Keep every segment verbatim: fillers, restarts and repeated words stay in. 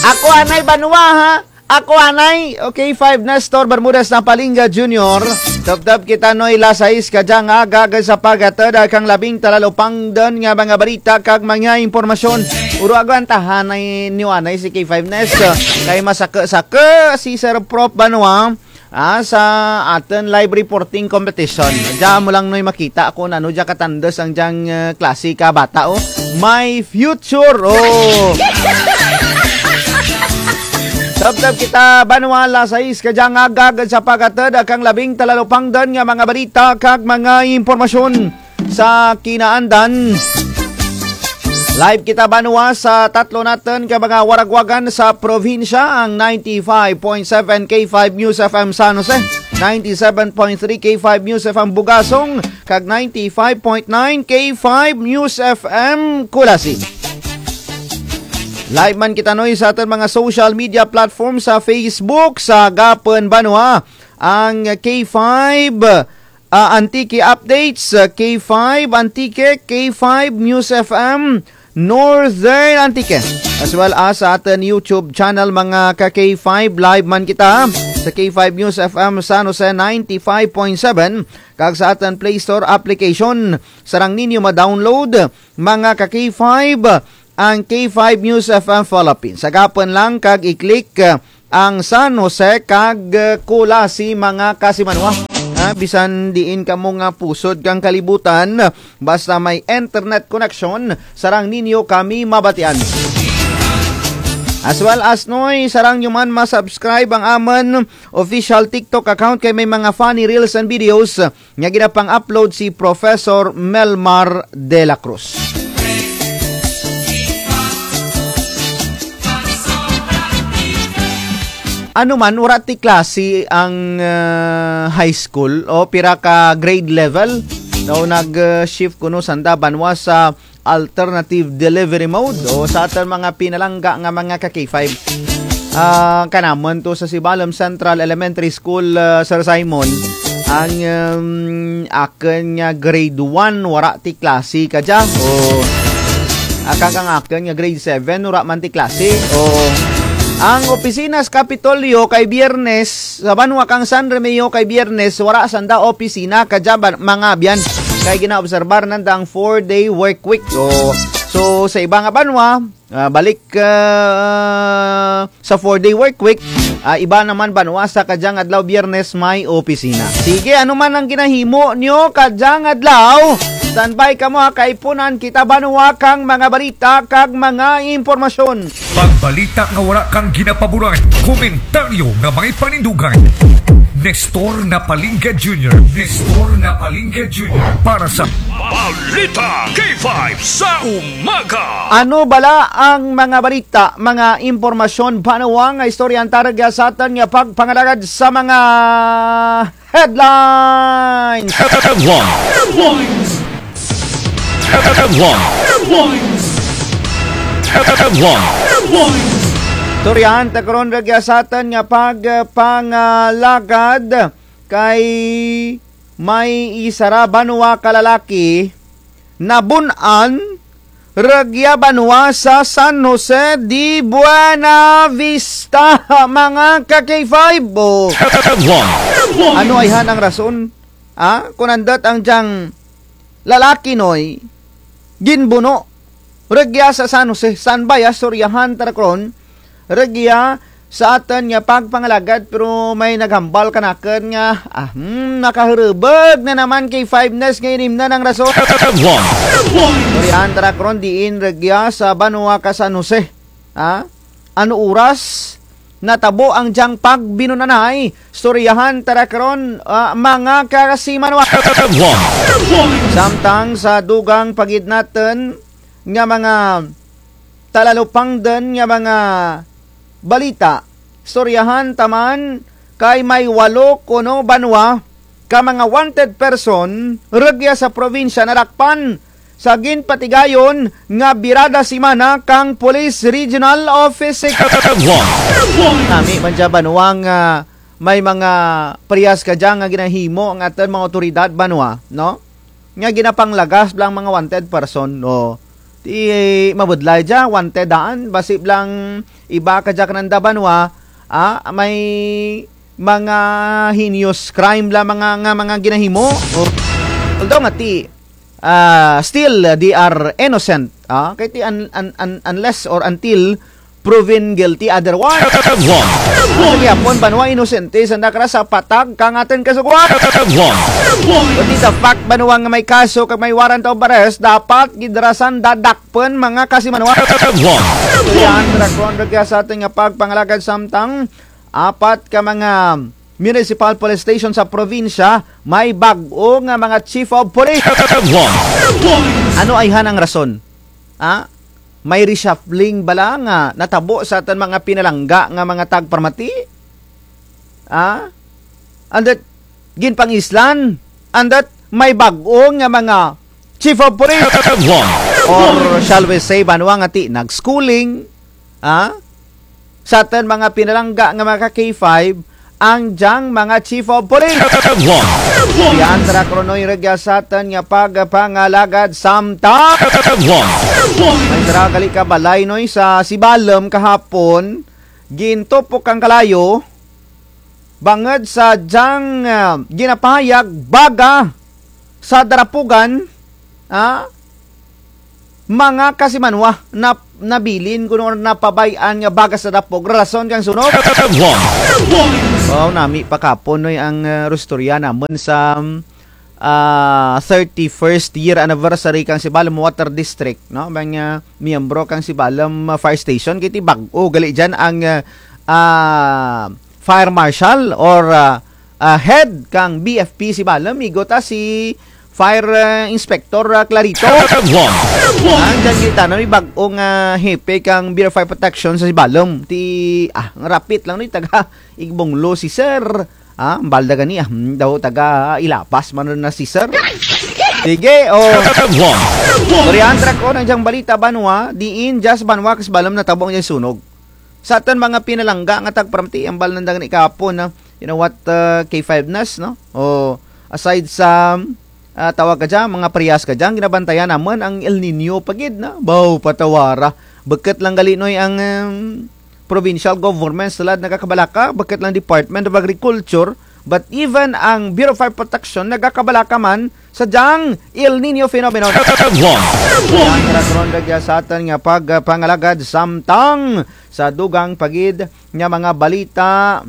Ako anay banwa, ha? Ako anay, okay, five Nestor Bermudez Napalingga Junior. Tebteb kita Noy alas sais kadya nga aga, agud sa paghatud kang labing talalupangdun nga mga balita kag mga impormasyon. Uro agwantahan anay ninyo anay si K five Nes. Kay masaku-saku si Sir Prof banwa. Ah, sa atun live reporting competition. Dya mo lang Noy makita kon ano dya katandus ang dyang, eh, klase ka bata, oh. My future, oh. Tebteb kita banwa alas sais kadya nga aga, agud sa paghatud kang labing talalupangdun nga mga balita kag mga impormasyon sa kinaandan. Live kita banwa sa tatlo natun ka mga waragwagan sa probinsya, ang ninety-five point seven K five News F M San Jose, ninety-seven point three K five News F M Bugasong, kag ninety-five point nine K five News F M Culasi. Live man kita Noy sa atun mga social media platform sa Facebook, sa gapun banwa, ang K five ah, Antique Updates, ah, K five Antique, K five News F M, Northern Antique. As well as sa atun YouTube channel, mga ka K five, live man kita sa K five News F M San Jose ninety-five point seven, kag sa atun Play Store application, sarang ninyo ma-download, mga ka K five, ang K five News F M Philippines. Sa gapun lang kag i-click, ah, ang San Jose kag, eh, Culasi, mga kasimanwa. Ha, bisan diin kamo nga pusod kang kalibutan, basta may internet connection, sarang ninyo kami mabatian. As well as Noy, sarang nyo man ma-subscribe ang amun official TikTok account kay may mga funny reels and videos nga ginapang-upload si Professor Melmar de la Cruz. Ano man, wara ti klase ang, ah, high school o pira ka grade level. Daw nag, ah, shift kuno sanda banwa sa alternative delivery mode o sa atun mga pinalangga nga mga ka K five. Ah, kanamun to sa Sibalom Central Elementary School, ah, Sir Simon, ang, um, akun nga grade one, wara ti klase kadya. O, aka kang akun nga grade seven, wara man ti klase. O, ang opisina sa Kapitolyo kay Biyernes, sa banwa kang San Remigio kay Biyernes, wara sanda opisina kadya ba-, mga abyan. Kay ginaobserbar nanda ang four-day work week. So, so, sa iba nga banwa, ah, balik, ah, sa four-day work week, ah, iba naman banwa sa kadyang adlaw Biyernes may opisina. Sige, ano man ang ginahimo nyo kadyang adlaw? Standby kamo ha, kaipunan kita banwa kang mga balita kag mga impormasyon. Pagbalita nga wara kang ginapaboran, komentaryo nga may panindugan. Nestor Napalingga Junior, Nestor Napalingga Junior para sa Balita K five sa umaga. Ano bala ang mga balita, mga impormasyon, banwa nga istoryahan ta rugya sa atun nga pagpangalagad sa mga headlines? Headlines. Headlines. Headlines. Headlines. Istoryahan ta karon rugya sa atun nga pagpangalagad kay may isara banwa ka lalaki nabun-an rugya banwa sa San Jose de Buenavista, mga ka K five. O, ano ayhan ang rason? Ah, kon andut ang dyang lalaki, Noy, ginbuno rugya sa San Jose. San ba ya, istoryahan ta ra karon rugya sa atun nga pagpangalagad, pero may naghambal kanakun nga, ah, hmm, nakahurubog na naman kay Five Nest nga inimnan ang rason. Istoryahan ta ra karon diin rugya sa banwa ka San Jose. Ha? Ano oras natabo ang dyang pagbinunanay? Istoryahan ta ra karon, ah, mga kasimanwa. Samtang sa dugang pa gid natun nga mga talalupangdun nga mga balita, istoryahan ta man kay may walo kuno banwa ka mga wanted person rugya sa probinsya nadakpan sa ginpatigayon nga birada semana kang Police Regional Office Six. Nami man dya banwa nga may mga parehas kadya nga ginahimo ang atun mga awtoridad banwa, no? Nga ginapanglagas bala ang mga wanted person, no? Ti mabudlay dya, wanted daan, basi bala nga iba kadya kananda banwa, ah, may mga heinous crime bala mga, nga mga ginahimo. O, although nga ti, ah, still, they are innocent. Ah, kay ti un-, un-, un-, unless or until proven guilty otherwise. Sa gihapon, banwa, inosente sanda kara sa patag kang atun kasugoan. But the fact, banwa, nga may kaso kag may warrant of arrest, dapat gid ra sanda dakpun, mga kasimanwa. Yan, drakon rugya sa atun nga pagpangalagad samtang apat ka mga municipal police station sa probinsya may bag-o nga mga chief of police. Ano ayhan ang rason? Ha? May reshuffling bala nga natabo sa atun mga pinalangga nga mga tagparamati? Ha? And that, ginpangislan? And that, may bag-o nga mga chief of police? Or shall we say, banwa, nga ti nag-schooling? Ha? Sa atun mga pinalangga nga mga ka-K five, ang dyang mga chief of police. Yan, drakon, Noy, rugya sa atun nga pagpangalagad samtang may dra gali ka balay, Noy, sa Sibalom kahapon, gintupok kang kalayo, bangud sa dyang, ah, ginapahayag baga sa darapugan, ah, mga kasimanwa, na, nabilin kuno or napabay-an nga baga sa dapog rason kang sunog. Wow, nami pa kahapon, Noy, ang, ah, rustorya namun sa, ah, thirty-first year anniversary kang Sibalom Water District, no? Mga miyembro kang Sibalom, ah, Fire Station, kay ti bag-o gali dyan ang, ah, ah, fire marshal or, ah, ah, head kang B F P Sibalom, igo ta si Fire, ah, Inspector, ah, Clarito. Ah, dyan kita, Noy, bag-o nga, ah, hepe kang Bureau of Fire Protection sa Sibalom. Ti, ah, nga rapit lang, Noy, taga Igbonglo si Sir. Ah, balda gani, ah, hmm, daw taga Ilabas man na si Sir. Sige, o. Durian, drakon, ang dyang balita, banwa, diin dya sa banwa kang Sibalom natabo ang dyang sunog. Sa atun mga pinalangga nga tagparamati, ambal nanda gani kahapon, no? You know what, uh, K five News, no? O, aside sa, ah, tawag kadya, mga parehas kadya, ang ginabantayan namun ang El Niño pa gid, no? Baw, patawara. Bukut lang gali, Noy, ang, um, provincial government, sila nagakabalaka, bukut lang Department of Agriculture, but even ang Bureau of Fire Protection nagakabalaka man sa dyang El Niño phenomenon. Ang karon rugya sa atun nga pagpangalagad samtang sa dugang pa gid nga mga balita,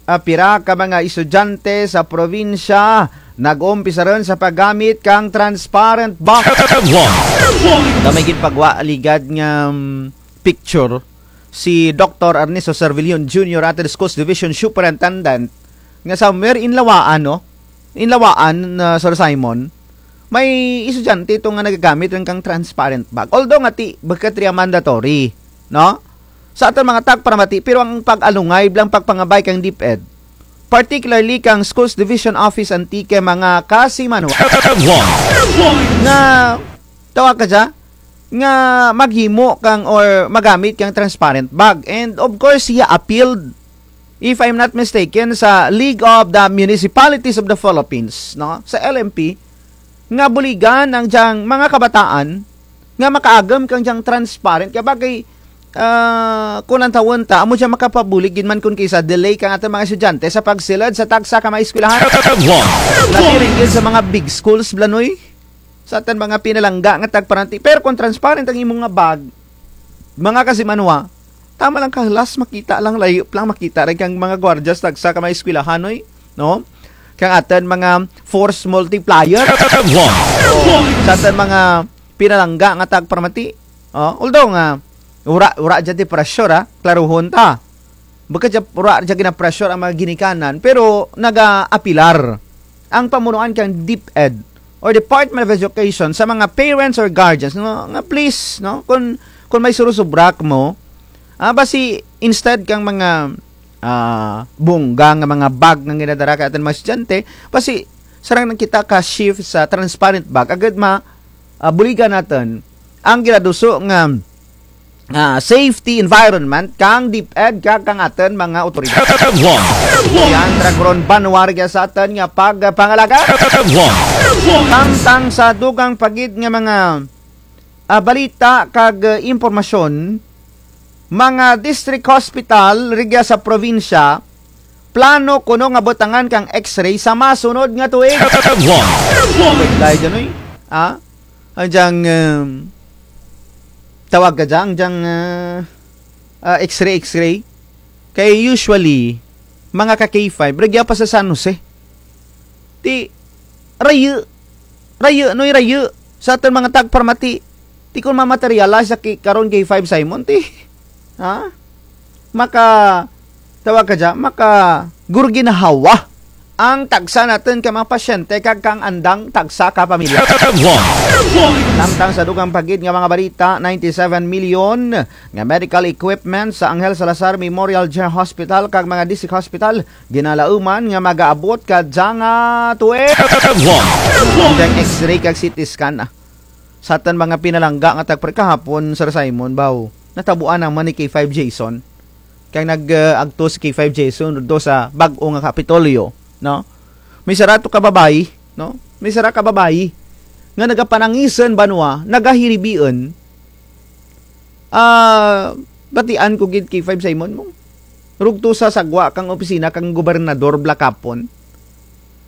ah, pira ka mga estudyante sa probinsya nag-umpisa run sa paggamit kang transparent bag. Kami gid pagwa ligad nga, mm, picture si Doktor Ernesto Servillon Junior, atun Schools Division Superintendent, nga somewhere Inlawaan, no? Inlawaan, ah, Sir Simon, may estudyante to nga nagagamit run kang transparent bag. Although nga ti, bukut ria mandatory, no? Sa atun mga tagparamati, pero ang pag-alungay, bala ang pagpangabay kang DepEd, particularly kang Schools Division Office Antique, mga kasimanwa, nga tawag kadya, nga maghimo kang or magamit kang transparent bag. And of course, siya appealed, if I'm not mistaken, sa League of the Municipalities of the Philippines, no? Sa L M P, nga buligan ang dyang mga kabataan nga makaagum kang dyang transparent. Kay bagay, ah, kon lantawun ta, amo dya makapabulig gid man kon kis-a delay kang atun mga estudyante sa pagsulud sa tagsa ka mga eskwelahan. Labi run gid sa mga big schools, bala, Noy. Sa atun mga pinalangga nga tagparamati. Pero kon transparent ang imo nga bag, mga kasimanwa, tama lang kahulas makita lang, layup lang makita run kang mga gwardiya sa tagsa ka mga eskwelahan, Noy, no? Kang atun mga force multiplier. O, sa atun mga pinalangga nga tagparamati. O, although nga, wara, wara dya ti pressure, ha? Klaruhon ta. Bukut dya, wara dya gina-pressure ang mga ginikanan, pero nagaapilar ang pamunuan kang DepEd or Department of Education sa mga parents or guardians, no, nga please, no, kon, kon may surusubra kamo, ah, basi instead kang mga, ah, bongga nga mga bag nga ginadara kang atun mga estudyante, basi sarang lang kita ka-shift sa transparent bag, agud ma, ah, buligan natun ang ginaduso nga, ah, safety environment kang DepEd kag kang atun mga awtoridad. Yan, drakon, banwa rugya sa atun nga pagpangalagad. Samtang sa dugang pa gid nga mga ah, balita kag, ah, impormasyon, mga district hospital rugya sa probinsya, plano kuno nga butangan kang X-ray sa masunod nga tuig. Headline. Lain dyan, uy. Ah? Ang dyang, um, tawag ka dyan, ang dyang, ah, ah, X-ray, X-ray. Kay usually, mga ka K five, rugya pa sa San Jose. Ti, rayu, rayu, noy rayu. Sa atun mga tagparamati. Ti kun mamaterialize sa ki-, karon K five Simon, ti. Ha? Maka, tawag ka dyan, maka gurginhawa ang tagsa natun ka mga pasyente kag kang andang tagsa ka pamilya. Samtang sa dugang pa gid nga mga balita, ninety-seven million nga medical equipment sa Angel Salazar Memorial General Hospital kag mga district hospital ginalauman nga magaabot kadya nga tuig. Ang X-ray kag C T scan, ah. Sa atun mga pinalangga nga tagpre kahapon, Sir Simon, baw, natabuan naman ni K five Jason. Kay nag, ah, agto si K five Jason do sa bag-o nga Kapitolyo, no? May sara to ka babayi, no? May sara ka babayi nga nagapanangisan banwa, nagahiribian. Ah, batian ko gid K five Simon mo. Rugto sa sagwa kang opisina kang gobernador bala kahapon.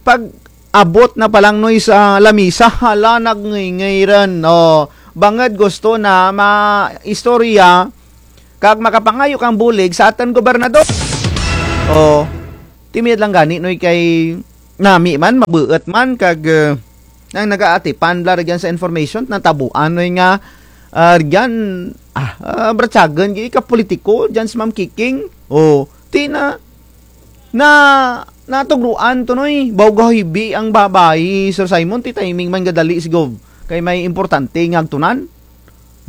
Pag-abot na pa lang, noy, sa lamisa, hala, nagngingay run. O, bangud gusto na maistorya kag makapangayo kang bulig sa atun gobernador. O, ti mayad lang gani, noy, kay nami man, mabuut man, kag, eh, ang nagaatipan bala rugyan sa information, natabuan, noy, nga, ah, rugyan, ah, ah, bratsagun, gid ka politiko, dyan si Ma'am Kiking. O, ti na, na, natugruan to, noy. Baw gahibi ang babayi, Sir Simon, ti timing man gadali si Gov. Kay may importante nga agtunan.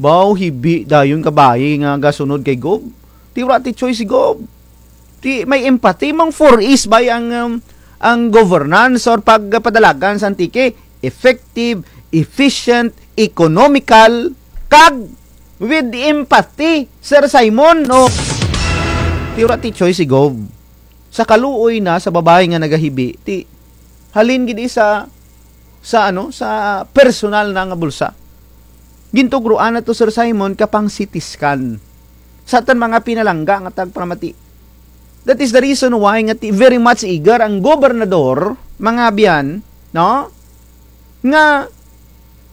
Baw hibi dayon ka bayi nga gasunod kay Gov. Ti wara ti choice si Gov. Ti may empathy, mang four E's bay ang, um, ang governance or pagpadalagan sa Antique. Effective, efficient, economical, kag with empathy, Sir Simon, no? Ti wara ti choice si Gov. Sa kaluoy na sa babayi nga nagahibi, ti halin gid sa, sa ano, sa personal na nga bulsa. Gintugruan na to, Sir Simon, ka pang C T scan. Sa atun mga pinalangga nga tagparamati. That is the reason why nga ti very much eager ang gobernador, mga abyan, no? Nga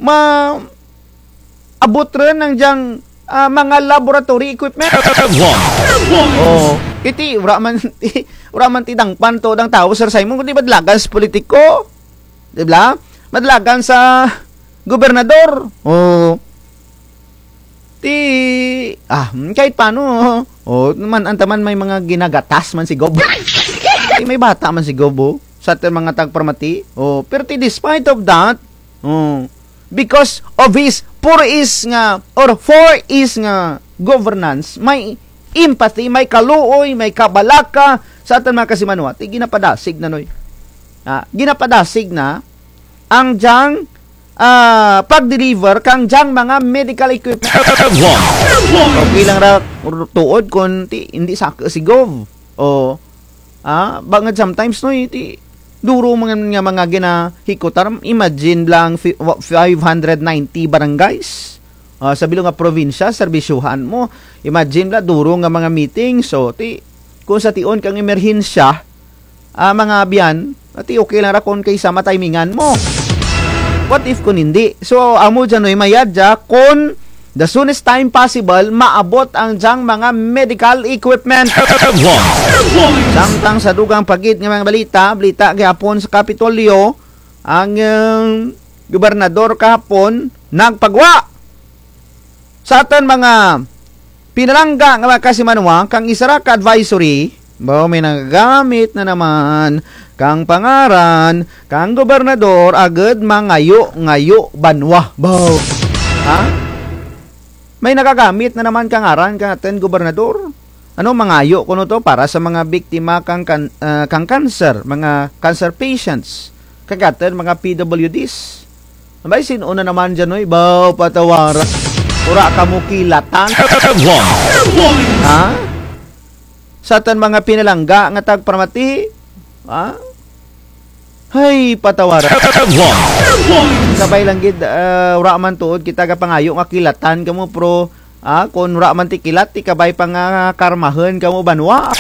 ma-, abot run ang dyang, ah, mga laboratory equipment. O, iti, wara man, wara man ti dangpan to dang tawo, Sir Simon, kundi madalagan sa politiko. Di bala? Madalagan sa gobernador. O, ti, ah, hmm, kahit paano, o, man, ang taman may mga ginagatas man si Gov. Ti may bata man si Gov, o. Sa atun mga tagparamati. O, pero ti despite of that, o, because of his four E's nga, or four E's nga governance, may empathy, may kaluoy, may kabalaka sa atun mga kasimanwa. Ti ginapadasig na, noy. Ah, ginapadasig na ang dyang, ah, pag-deliver kang dyang mga medical equipment. Okay lang ra tuod kun ti, hindi saku si Gov. O, ah, bangud sometimes, noy, ti duro man nga mga ginahikutar. Imagine lang fi-, wa-, five hundred ninety barangays. Ah, sa bilog nga probinsya, serbisyuhan mo. Imagine bala, duro nga mga meeting. So, ti, kun sa tion kang emerhensya, ah, mga abyan, ti okay lang ra kun kaysa matimingan mo. What if kun hindi? So, amo dyan, noy, mayad dya kun the soonest time possible, maabot ang dyang mga medical equipment. Samtang sa dugang pa gid nga mga balita, balita gihapon sa Kapitolyo, ang, um, gobernador kahapon nagpagwa sa atun mga pinalangga nga mga kasimanwa, kang isara ka advisory, baw, may nagagamit na naman kang pangaran kang gobernador agud mangayo-ngayo banwa. Baw. Ha? May nagagamit na naman kang ngaran kang atun gobernador. Ano, mangayo kuno to para sa mga biktima kang kan-, ah, kang cancer, mga cancer patients, kag atun mga P W Ds. Ambay, sin-o na naman dyan, oy? Baw, patawara. Wara kamo kilatan. Ha? Sa atun mga pinalangga nga tagparamati, ha? Hay, patawaran. Kabay lang gid, ah, wara man tuod kita gapangayo nga kilatan kamo, pero, ah, kon wara man ti kilat, ti kabay pa nga karmahun kamo banwa.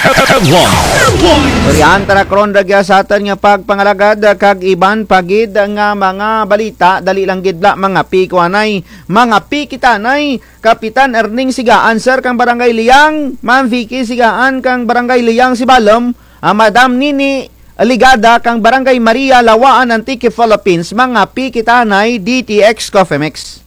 Dyan tara karon rugya sa atun nga pagpangalagad, ah, kag iban pa gid nga mga balita, dali lang gid bala, mangapi ko anay, mangapi kita anay, Kapitan Erning Sigaan, sir, kang Barangay Liang, Ma'am Vicky Sigaan, kang Barangay Liang Sibalom, ah, Madam Nini Ligada, kang Barangay Maria, Laua-an, Antique, Philippines, mangapi kita anay, D T X Coffee Mix.